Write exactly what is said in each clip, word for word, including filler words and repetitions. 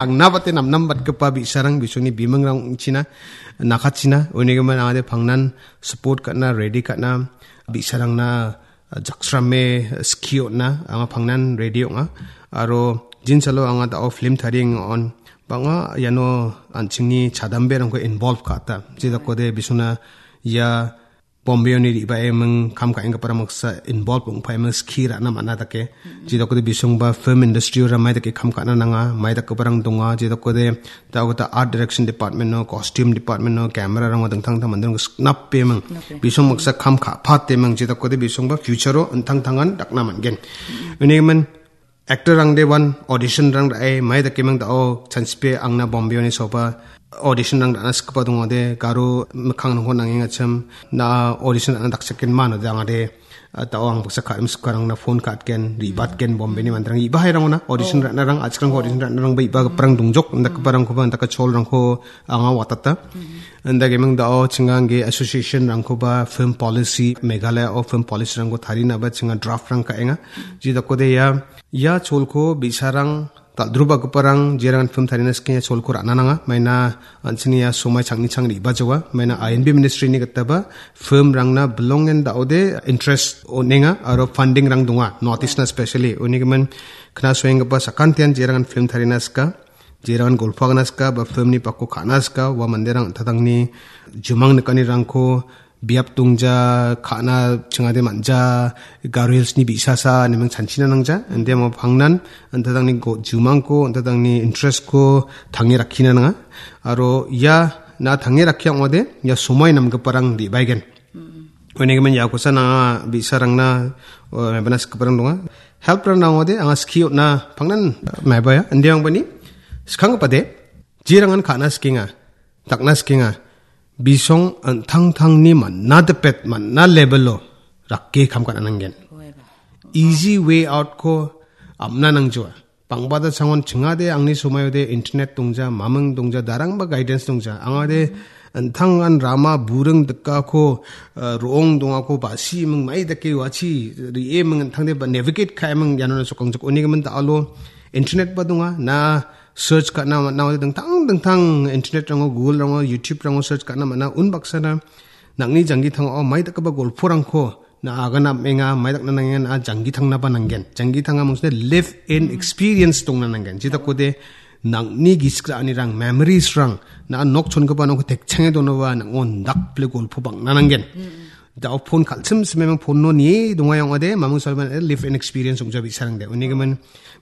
Angnabate namnambatgipa bi·sarang bisongni bimingrang ong·china, nakatchina, unigimin angade pangnan support ka·na, ready ka·na, bi·sarangna, ah, jaksrame skie on·na, anga pangnan ready ong·a. Aro jinsalo anga da·o film tarienga on, bang·a iano an·chingni chadamberangko involve ka·ata. Jedakode bisongna ia Bombay-oni re·baeming kam ka·enggiparang baksa involve ong·paeming skie ra·na man·a dake. Jedakode bisongba film industry-o ramai dake kam ka·na nanga, mai dakgiparang donga, jedakode da·o gita art direction department-o, costume department-o, camera-rango dingtang dingtang manderang siknapeming. Nape. Bisong baksa kam ka·pateming, jedakode bisongba future-o intang tangan dakna man·gen. Unigimin actor-rangde wan audition-rang ra·e, mai dakeming da·o chanchipe angna Bombay-oni soba audition-rang ra·na sikgipa dongode, garo mikkangrangko nangengachim, na audition ra·na dakchakgenma node angade, ah, da·o ang baksa ka·im sikarangna phone ka·atgen, re·batgen, Bombay-ni manderang re·bahairangona, audition ra·narang, achikrangko audition ra·narangba re·bagiparang dongjok, indakgiparangkoba, indaka cholrangko anga watata. Indakeming da·o chinga angge association-rangkoba film policy, Meghalaya-o film policy-rangko tarinaba chinga draft-rang ka·enga. Jedakode ia Ia cholko bi·sarang, dal·drobagiparang, jerangan film tarina skie ia cholko ra·na nanga. Maina an·chingni ia somai changni chang re·bajawa. Maina I N B ministry-ni gitaba film-rangna bilongen da·ode interest on·enga aro funding-rang donga. North East-na specially. Unigimin knasoenggipa sakantian jerangan film tarina sika, jerangan golpo agana sika, ba film-ni bakko ka·na sika, ua manderang an·tangtangni jumang nikanirangko biap dongja, ka·na chingade man·ja, Garo Hills-ni bi·sasa ineming chanchina nangja. Inde amo pangnan, an·tangtangni go-, jumangko, an·tangtangni interest-ko tange rakkina nanga. Aro ia na tange rakkia ong·ode, ia somoi namgiparang re·baegen. Unigimin iakosa nanga bi·sarangna, o, mebana sikgiparang donga. Help-rang nangode, anga skie on·na pangnan, eh, mebaya. Inde angbani, skanggipade, jerangan ka·na sikenga. Dakna sikenga. Bisong an·tangtangni man·a dipet, man·a level-o rake kam ka·na nanggen. Easy way out-ko am·na nangjawa. Bangbada sangon chingade angni somoiode internet dongja, maming dongja, darangba guidance dongja. Angade an·tangan rama buring dikako, eh, ro·ong dongako basi ming mai dake uachi re·e ming an·tangde ba navigate ka·e ming iano sokangjakoba. Unigimin da·alo internet-ba donga. Na search ka·na man·a, ode dingtang dingtang internet-rango, Google-rango, YouTube-rango search ka·na man·a. Unbaksana nang·ni janggi tangao mai dakgipa golporangko na agana am·enga, mai dakna nangenga, na janggi tangnaba nanggen. Janggi tanga mangsina live in experience dongna nanggen. Jedakode nang·ni gisik ra·anirang, memories-rang, na nok chongipa nokko tekchange donaba, nang·o indakpile golpo bang·na nanggen. Da·o phone kal·sim simemang phone-o nie donga ong·ode, mamung salban live in experience ong·ja bi·sarangde. Unigimin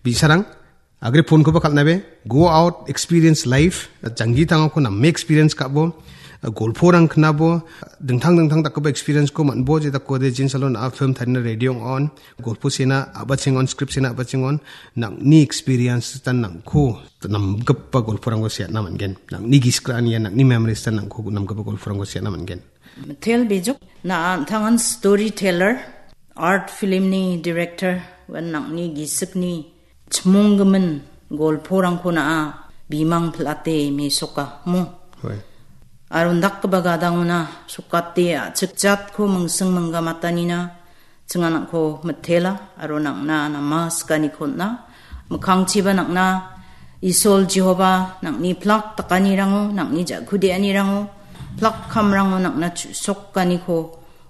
bi·sarang, agre phone-koba kal·nabe, go out, experience life, janggi tangako name experience ka·bo, golporang knabo, dingtang dingtang dakgipa experience-ko man·bo, jedakode jinsalo na film tarina ready ong·on, golpo sena a·bachengon, script sena a·bachengon, nang·ni experience tan nangko namgipa golporangko seatna man·gen. Nang·ni gisik ra·ani ia nang·ni memories tan nangko namgipa golporangko seatna man·gen. Mitel Bijuk, na an·tangan storyteller, art film-ni director, wan nang·ni gisikni chimonggimin golporangko na·a bimang pil·ate mesoka, mo? Hoi. Aro indakgipa gadangona sokate a·chikjatko mingsing minggamatanina chinganangko mitela, aro nang·na nama sikaniko on·a. Mikkangchiba nang·na Isol Jehova nang·ni plak dakanirango, nang·ni ja·kudeanirango, plak kamrango nang·na chu·sokaniko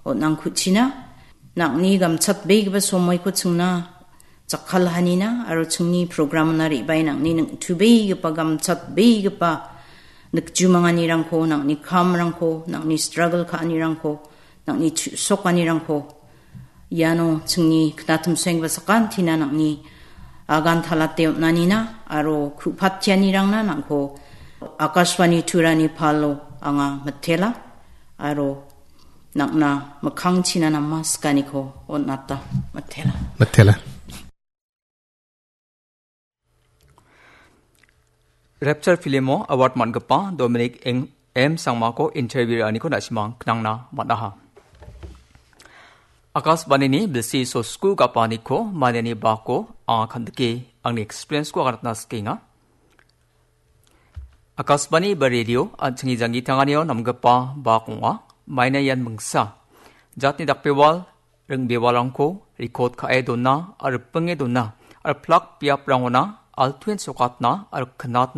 on·angkuchina. Nang·ni gamchatbegipa somoiko chingna jakkalhanina, aro chingni program-ona re·bae nang·ni ningtubegipa, gamchatbegipa nikjumanganirangko, nang·ni kamrangko, nang·ni struggle ka·anirangko, nang·ni chu·sokanirangko iano chingni knatimsoenggipa sakantina nang·ni agan talate on·anina aro ku·pattianirangna nangko Akashvani Turani palo anga mitela aro nang·na mikkangchina nama sikaniko on·ata mitela. Mitela. Rapture film-o award man·gipa Dominic Eng-, M Sangmako interview ra·aniko na·simang knangna man·aha. Akashvanini bilsi sosku gapaniko maniani bako anga kandike angni experience-ko aganatna sikenga. Akashvani ba radio an·chingni janggi tanganio namgipa bak ong·a. Maina ian mingsa jatni dakbewal ringbewalrangko record ka·e dona aro ripinge dona aro plak biaprangona altuen sokatna aro knatna